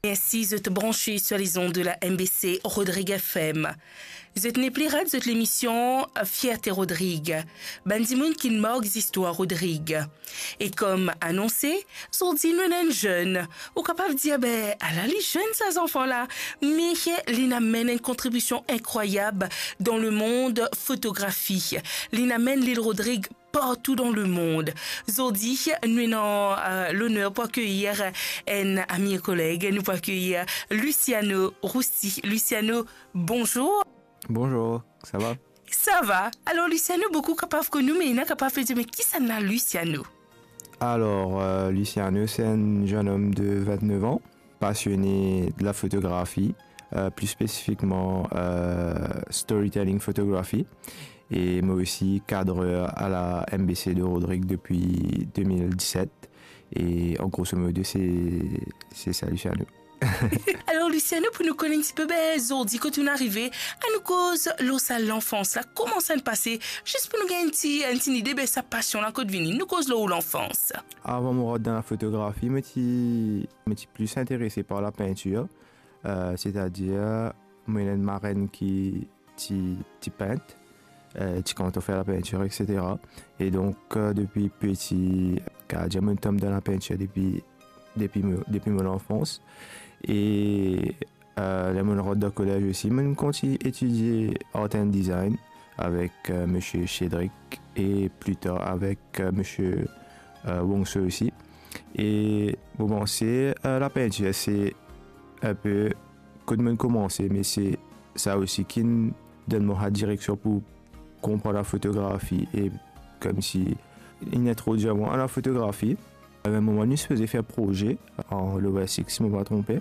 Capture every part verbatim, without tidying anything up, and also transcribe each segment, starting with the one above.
Mersi zot branche sur les ondes de la M B C Rodrigue F M. Zot nepli rat zot lemision Fierté Rodrigue. Bann dimoun ki mark zistwar Rodrigue. E kom anonse, zordi nou ena enn zenn. Ou kapav dir, be, ala li zenn sa zanfan la, me li inn amenn enn kontribision inkrwayab dan lemond fotografi. Li inn amenn Lil Rodrig partou dan lemond. Zordi, nou ena, eh, loner pou akeyir enn ami e koleg, nou pou akeyir Luciano Roussy. Luciano, bonzour. Bonzour, sa va? Sa va. Alor, Luciano, boukou kapav konn ou, me ena kapav pe dir, me kisannla Luciano? Alor, eh, Luciano, se enn zennom de vintnef an, pasione de la fotografi, eh, pli spesifikman, eh, storytelling photography. E mo osi kadrer a la M B C de Rodrigue depi de mil diset. E an groso modo, se, se sa, Luciano. Alor, Luciano, pou nou konn enn tipe, be, zordi kot ou'nn arive, anou koz lor sa lanfans la, kouma sa inn pase, zis pou nou gagn enn ti, enn ti lide, be, sa pasion la kot vini, nou koz lor ou lanfans. Avan mo rant dan la fotografi, mo ti, mo ti plis interese par la pintir, eh, setadir, mo ena enn marenn ki ti, ti pint, eh, ti kontan fer la pintir, et cetera. E donk, eh, depi piti, kapav dir mo tonm dan la pintir depi, depi mo, depi mo lanfans. E, eh, ler mo rant dan kolez osi, mo kontign etidie Art and Design avek, eh, Misie Cédric e pli tar avek, eh, Misie, eh, Wongso osi. E mo panse, eh, la pintir, se enpe kot mo'nn koumanse, me se sa osi ki'nn donn mwa sa direksion pou konpran la fotografi e koumsi inn introdwir mwa a la fotografi. Enn moman, nou sipoze fer proze an Lower Six, si mo pa tronpe.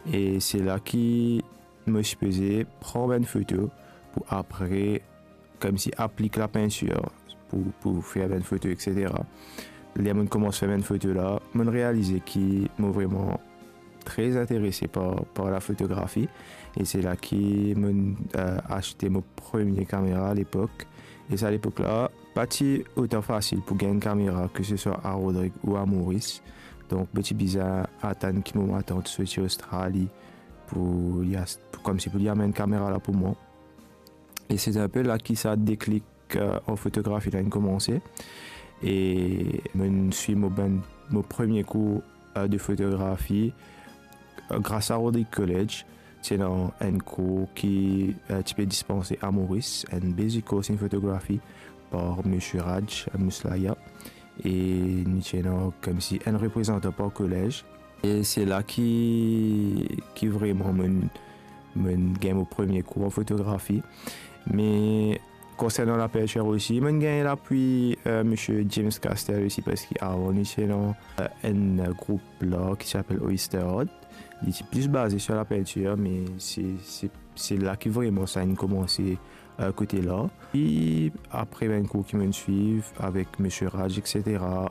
E se la ki mo sipoze pran bann foto pou apre koumsi aplik la pintir pou, pou fer bann foto, et cetera. Ler mo'nn koumans fer bann foto la, mo'nn realize ki mo vreman tre interese par, par la fotografi. E se la ki mo'nn, eh, aste mo premie kamera alepok. E sa lepok la, pa ti otan fasil pou gagn kamera, ke se swa a Rodrig ou a Moris. Donk, mo ti bizin atann ki mo matant sorti Ostrali pou li ast-, pou, koumsi pou li amenn kamera la pou mwa. E se enpe la ki sa deklik, eh, an fotografi la inn koumanse. E mo'nn swiv mo bann, mo premie kour, eh, de fotografi, eh, gras a Rodrig College. Ti ena enn kour ki, eh, ti pe dispanse a Moris, enn basic course in photography par Misie Raj Muslaya. E nou ti ena koumsi enn reprezantan par kolez. E se la ki, ki vreman mo'nn, mo'nn gagn mo premie kour an fotografi. Me konsernan la pintir osi, mo'nn gagn lapwi, eh, Misie James Castell osi, parski avan nou ti ena, eh, enn group la ki ti apel Oyster Art. Li ti plis baze sir la pintir, me se, se, se la ki vreman sa inn koumanse, eh, kote la. E apre bann kour ki mo'nn swiv avek Misie Raj, et cetera,